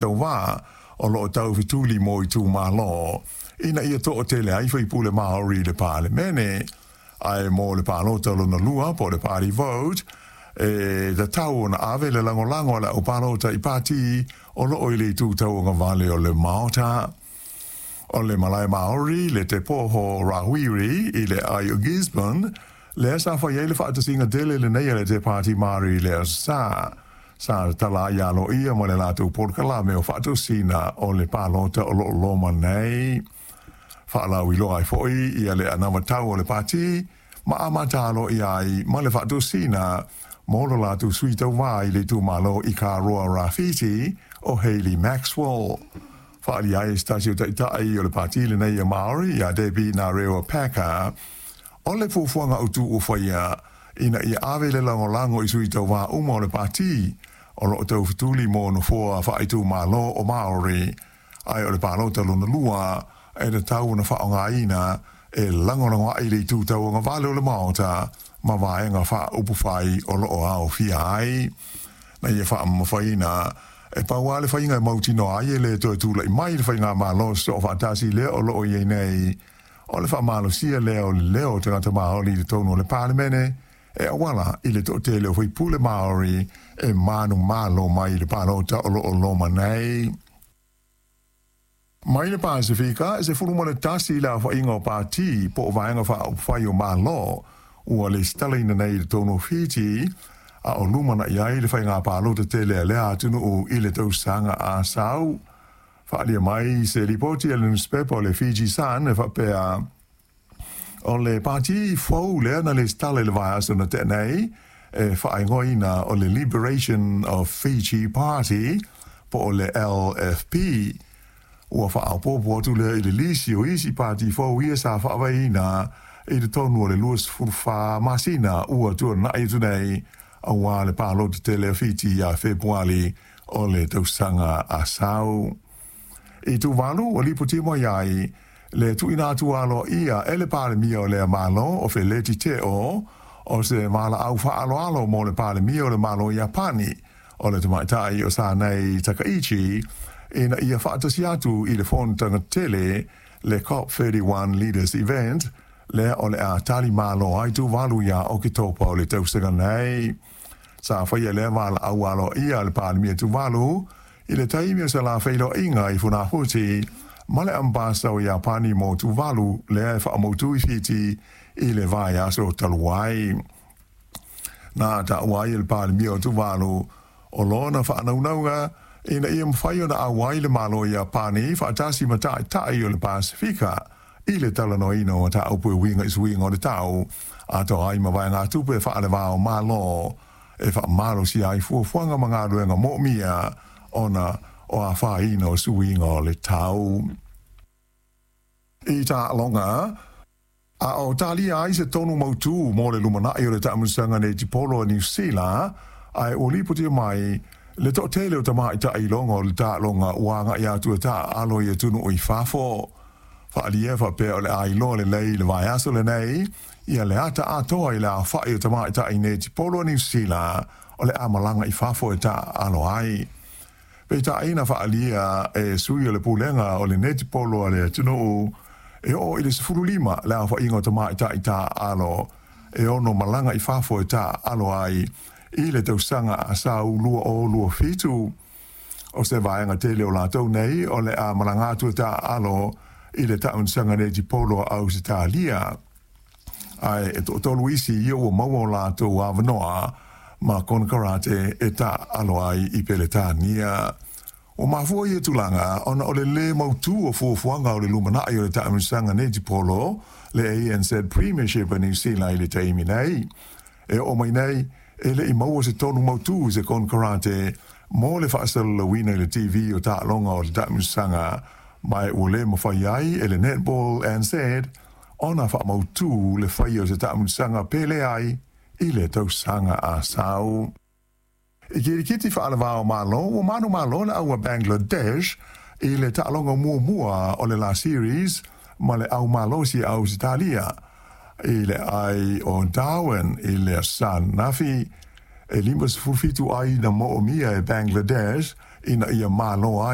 Tauva o loo taufetuli mo itumalo ina ia toatele ai faipule Māori i le Palemene. Ae mo le palota lona lua po o le party vote, e tatau ona ave le lagolago a le aupalota i pati o loo i le itu tauagavale o le Maota. O le Malae Māori le Te Poho Rawiri i le ai o Gisborne, lea sa fai ai le faatasiga tele lenei a le Te Pāti Māori i le Aso Sa. Sa tatala ai aloaia ma le latou polokalame o faatosina o le palota o loo loma nei. Faalauiloa ai foi ia le anavatau o le pati ma amata aloaia ai ma le faatosina mo lo latou sui tauva i le itumalo i Karoa Rāwhiti o Hayley Maxwell. Faaalia ai e se tasi o taitai o le pati lenei a Māori ia Debbie Ngarewa Packer o le fuafuaga autu ua faia ina ia ave le lagolago i sui tauva uma o le pati o loo taufetuli mo nofoa faaitumalo o Māori, ae o le palota lona lua e tatau ona faaaogaina e lagolago ai le itu tauagavale o le Maota ma vaega faaupufai o loo aofia ai. Na ia faamamafaina, e pau lava le faiga e mautinoa ai e le toe tulai mai le faigamalo sosoofaatasi lea o loo i ai nei, o le faamalosia lea o le leo o tagata Māori i totonu o le Palemene e auala i le toatele o faipule Māori e manumalo mai i le palota o loo loma nei. Mai le Pasefika, e 11 le aofaiga o pati po o vaega faaupufai o Malo ua lesitalaina nei i totonu o Fiti, a o lumanai ai le faiga palota tele a lea atunuu i le tausaga a sau. Faaalia mai se lipoti a le nusipepa o le Fiji Sun e faapea, o le pati fou lea na lesitala i le vaiaso na tea nei, e faaigoaina o le Liberation of Fiji Party po o le LFP. Ua faaopoopo atu lea i le lisi o isi pati fou ia sa faavaeina i totonu o le 24 masina ua tuanai atu nei aua le palota tele a Fiti ia Fepuali o le tausaga a sau. I Tuvalu, ua lipotia mai ai le tuuina atu aloaia e le Palemia o lea Malo o Feleti Teo o se valaau faaaloalo mo le Palemia o le Malo o Iapani, o le tamaitai o Sanae Takaichi, ina ia faatasi atu i le fonotaga tele, le COP31 Leaders Event, lea o le a tali malo ai Tuvalu ia Oketopa o le tausaga nei. Sa faia lea valaau aloaia a le Palemia Tuvalu i le taimi o se la feiloaiga i Funafuti ma le Ambasa o Iapani mo Tuvalu lea e faamautu i Fiti i le vaiaso talu ai. Na taua ai e le Palemia o Tuvalu o lona faanaunauga ina ia mafai ona auai le Malo o Iapani faatasi ma taitai o le Pasefika i le talanoaina o mataupu e uiga i suiga o le tau, atoa ai ma vaegatupe faale-va o Malo e faamalosia ai fuafuaga ma galuega moomia ona o afaina o suiga o le tau. I taaloga, a o talia ai se tonu mautū mo le lumanai o le taamilosaga netipolo a Niu Sila, ae ua lipotia mai le toatele o tamaitai iloga o le taaloga ua agai atu e taaalo i atunuu i fafo. Faaalia e faapea o le a iloa lelei i le vaiaso lenei ia le ata atoa i le aofai o tamaitai netipolo a Niu Sila o le a malaga i fafo e taaalo ai. Peitai na faaalia e sui o le pulega o le netipolo a le atunuu e oo i le 15 le aofaiga o tamaitai taaalo e ono malaga i fafo e taaalo ai i le tausaga a sau 2027. O se vaega tele o latou nei o le a malaga atu e taaalo i le taamilosaga netipolo a Ausetalia, ae e toatolu isi ia ua maua o latou avanoa ma konekarate e taaalo ai i Peretania. Ua mafua ia tulaga ona o le lē mautū o fuafuaga o le lumanai o le taamilosaga netipolo, le ANZ Premiership a Niu Sila i le taimi nei. E oo mai nei, e le i maua se tonu mautū i se konekarate mo le faasalalauina i le TV o taaloga o le taamilosaga, ma e ua le mafai ai e le Netball NZ ona faamautū le faia o se taamilosaga pe leai i le tausaga a sau. I kirikiti faale-va o Malo, ua manumalo le au a Bangladesh i le taaloga muamua o le la series ma le au malosi a Ausetalia i le ai o Darwin i le Aso Sa ananafi. E 57 ai na moomia e Bangladesh ina ia malo ai.